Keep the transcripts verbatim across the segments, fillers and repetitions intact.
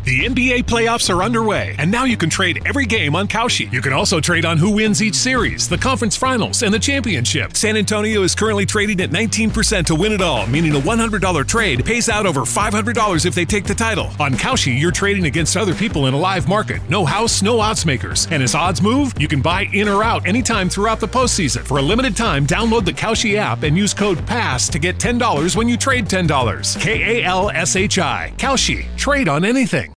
The N B A playoffs are underway, and now you can trade every game on Kalshi. You can also trade on who wins each series, the conference finals, and the championship. San Antonio is currently trading at nineteen percent to win it all, meaning a one hundred dollar trade pays out over five hundred dollars if they take the title. On Kalshi, you're trading against other people in a live market. No house, no odds makers. And as odds move, you can buy in or out anytime throughout the postseason. For a limited time, download the Kalshi app and use code PASS to get ten dollars when you trade ten dollars. K A L S H I. Kalshi. Trade on anything.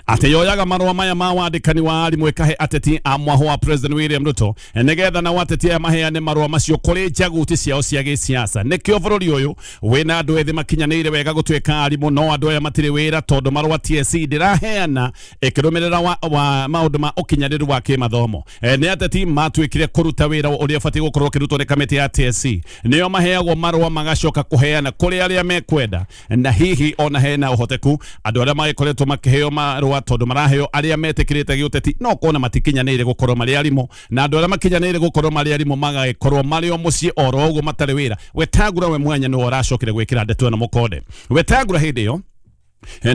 Atĩ yoyaga marũa maya ma wandĩkani wa arimũ ĩkahe ateti a mwaho wa President William Ruto nĩgetha nao ateti aya maheane marũa macio kũrĩ njaguti ciao cia gĩsiasa. Nĩkĩo bũrũri ũyũ wĩna andũ ethĩ makinyanĩire wega gũtuĩka arimũ, no andũ aya matirĩ wĩra tondũ marũa T S C ndĩraheana ĩkĩrũmĩrĩra wa, wa maũndũ ma ũkinyanĩru wa kĩmathomo. E, nĩ ateti matuĩkire kũruta wĩra ũrĩa ũbatiĩ gũkorwo ũkĩrutwo nĩ kamĩtĩ ya T S C, nĩo maheagwo marũa magacoka kũheana kũrĩ arĩa mekwenda, na hihi ona hena ũhoteku andũ arĩa magĩkoretwo makĩheo marũa tondũ maraheo arĩa metĩkĩrĩte gĩũteti no kona matikinyanĩire gũkorwo marĩ arimũ, na andũ arĩa makinyanĩire gũkorwo marĩ arimũ magagĩkorwo marĩ o mũciĩ oro ũguo matarĩ wĩra. Wetangula we mwanya nĩwe ũracokire gwĩkĩra ndeto ĩno mũkonde. Wetangula hĩndĩ ĩyo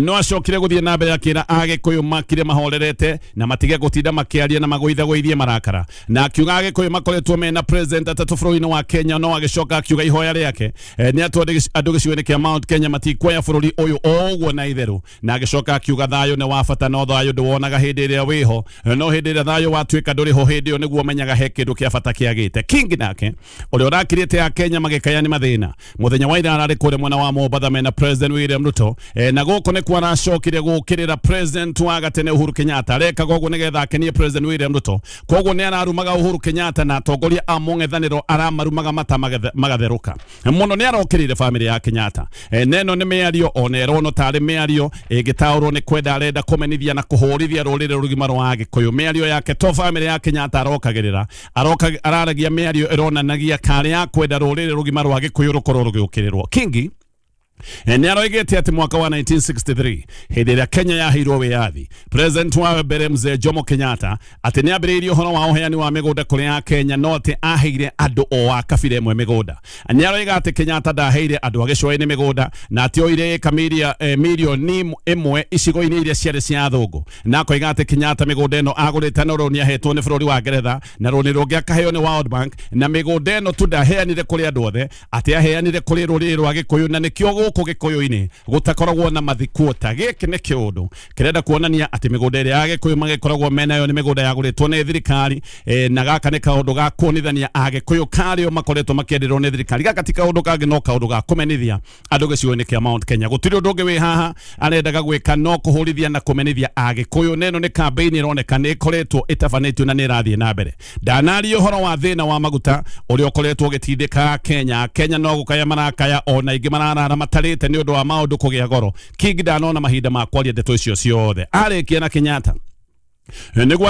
no acokire guthie na mbere akira Agikuyu makire mahorerete na matige gutinda makiaria na magũithagũithie marakara, na akiuga Agikuyu makoretwo mena president atatu bũrũri-inĩ wa Kenya, no agĩcoka akiuga ihoya rĩake nĩ atũ andũ gĩcigo-inĩ kĩa Mount Kenya matikuoya bũrũri ũyũ o ũguo na itherũ, na agĩcoka akiuga thayũ nĩ wa bata no thayũ ndũwonaga hĩndĩ ĩrĩa wĩho, no hĩndĩ ĩrĩa thayũ watuĩka ndũrĩ ho hĩndĩ ĩyo nĩguo menyaga he kĩndũ kĩa bata kĩagĩte. King nake ũrĩa ũrakirĩte a Kenya magĩkaya nĩ mathĩna mũthenya wa ira ararĩ kũrĩa mwena wa Mombatha mena President William Ruto, na gũkũ nĩkuo aracokire gũkĩrĩra President wa gatene Uhuru Kenyatta. Arekaga ũguo nĩgetha akenie President William Ruto, koguo nĩ ararumaga Uhuru Kenyatta na atongoria a mũng'ethanĩro aramarumaga mata magatherũka mũno. Nĩ arokĩrĩire famĩlĩ ya Kenyatta. E, neno nĩ mĩario ona ĩronwo tarĩ mĩario ĩngĩtaũrwo nĩ kwenda arenda kũmenithia na kũhũrithia rũrĩrĩ rũgima rwa Agĩkũyũ. Mĩario yake to famĩlĩ ya Kenyatta arokagĩrĩra, aroka araragia mĩario ĩronanagia karĩ ya kwenda rũrĩrĩ rũgima rwa Gĩkũyũ rũkorwo rũgĩũkĩrĩrwo. Kingi nĩ aroigĩte atĩ mwaka wa nineteen sixty-three hĩndĩ ĩrĩa Kenya yaheirwo wĩyathi, President wa mbere mzee Jomo Kenyatta atĩ nĩ ambĩrĩirie ũhoro wa ũheani wa mĩgũnda kũrĩ a Kenya, no atĩ aheire andũ o a kabira ĩmwe mĩgũnda. Nĩ aroiga atĩ Kenyatta ndaheire andũ a gĩcũa-inĩ mĩgũnda na atĩ oire ĩka mirioni ĩmwe icigo-inĩ iria ciarĩ cia athũngũ, na akoiga atĩ Kenyatta mĩgũnda ĩno agũrĩte na rũni ahetwo nĩ bũrũri wa Ngeretha na rũni rũngĩ akaheo nĩ World Bank, na mĩgũnda ĩno tu ndaheanire kũrĩ andũ othe, atĩ aheanire kũrĩ rũrĩrĩ rwa Gĩkũyũ, na nĩkĩo gũkũ Gĩkũyũ-inĩ gũtakoragwo na mathikuota. Gĩkĩ nĩ kĩũndũ kĩrenda kuonania atĩ mĩgũnda ĩrĩa ya Gĩkũyũ magĩkoragwo menayo nĩ mĩgũnda yagũrĩtwo nĩ thirikari, e, na gaka nĩ kaũndũ ga kuonithania Agĩkũyũ karĩo makoretwo makĩenderwo nĩ thirikari. Gaka ti kaũndũ kangĩ no kaũndũ ga kũmenithia andũ gĩcigo-inĩ kĩa Mount Kenya. Gũtirĩ ũndũ ũngĩ wĩ haha arendaga gwĩka no kũhũrithia na kũmenithia Agĩkũyũ. Neno nĩ campaign ĩroneka nĩ ĩkoretwo ĩtabanĩtio na nĩ ĩrathiĩ na mbere. Ndanaria ũhoro wa thĩna wa maguta ũrĩa ũkoretwo ũgĩtindĩka Kenya. Kenya no gũkaya marakaya ona ingĩ mararara matarĩte nĩ ũndũ wa maũndũ kũgĩa goro. King ndanona mahinda ma kwaria ndeto icio ciothe. Arĩkia na Kenyatta nĩguo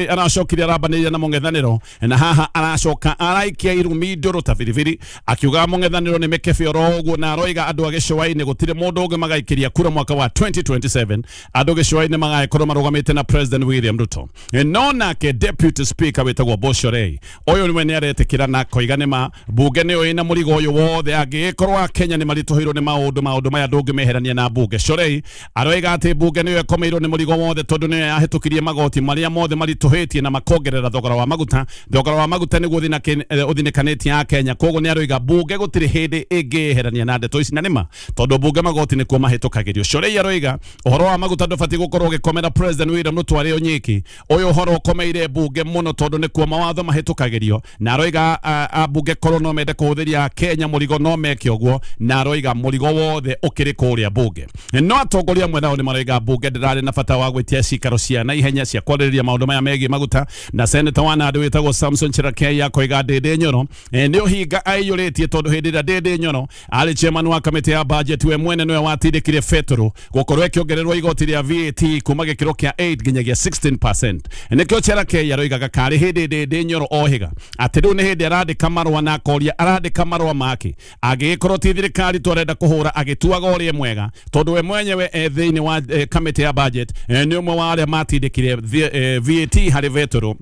aracokire arambanĩria na mũng'ethanĩro, na haha aracoka araikia irumi ndũrũ ta biribiri akiuga mũng'ethanĩro nĩ mĩkebe oro ũguo, na aroiga andũ a gĩcũa-inĩ gũtirĩ mũndũ ũngĩ magaikĩria kura mwaka wa twenty twenty-seven. Andũ gĩcũa-inĩ magagĩkorwo marũgamĩte na President William Ruto. No nake Deputy Speaker wĩtagwo Boshorei ũyũ nĩwe nĩ aretĩkĩra na akoiga nĩ ma mbunge nĩyo ĩna mũrigo ũyũ wothe, angĩgĩkorwo a Kenya nĩ maritũhĩirwo nĩ maũndũ maũndũ maya ndũngĩmeherania na mbunge. Shorei aroiga atĩ mbunge nĩyo ĩkomeirwo nĩ mũrigo wothe tondũ nĩyo yahĩtũkirie magoti maria mothe maritũhĩtie na makongerera thogora wa maguta. Thogora wa maguta nĩguo ũthinĩkanĩtie a Kenya, koguo nĩ aroiga mbunge gũtirĩ hĩndĩ ĩngĩeherania na ndeto ici, na nĩma tondũ mbunge magoti nĩkuo mahĩtũkagĩrio. Shorei aroiga ũhoro wa maguta ndũbatiĩ gũkorwo ũgĩkomera President William Ruto arĩ o nyiki, ũyũ ũhoro ũkomeire mbunge mũno tondũ nĩkuo mawatho mahĩtũkagĩrio, na aroiga ambunge korwo no mende kũhũthĩria Kenya mũrigo no meke ũguo, na aroiga mũrigo wothe ũkĩrĩ kũrĩa mbunge. No atongoria amwe nao nĩ maroiga mbunge ndĩrarĩ na bata wa gwĩtia cikaro cia naihenya cia kwarĩrĩria maũndũ maya megiĩ maguta, na seneta wa Nandi wĩtagwo Samson Cherargei akoiga Ndindi Nyoro nĩ ũhinga aiyũrĩtie tondũ hĩndĩ ĩrĩa Ndindi Nyoro arĩ chairman wa kamĩtĩ ya budget we mwene nĩwe watindĩkire betũrũ gũkorwo ĩkĩongererwo igoti rĩa V A T kuma gĩkĩro kĩa eight nginyagia sixteen percent. Nĩkĩo Cherargei aroigaga karĩ hĩndĩ Ndindi Nyoro ohiga atĩ rĩu nĩ hĩndĩ arandĩka marũa na akoria arandĩka marũa make angĩgĩkorwo ti thirikari tu arenda kũhũra agĩtuaga ũrĩa mwega tondũ we mwenyewe e thĩinĩ wa kamĩtĩ ya budget nĩ ũmwe wa arĩa matindĩkire V A T harĩ betũrũ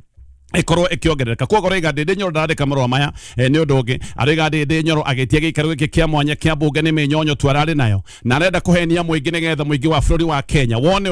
ikorwo ikiongerereka. Koguo aroiga Ndindi Nyoro ndarandĩka marũa maya nĩ ũndũ ũngĩ, aroiga Ndindi Nyoro agĩtia gĩikaro gĩkĩ kĩa mwanya kĩa mbunge nĩ mĩnyonyo tu ararĩ nayo, na arenda kũhenia mũingĩ nĩgetha mũingĩ wa bũrũri wa Kenya wone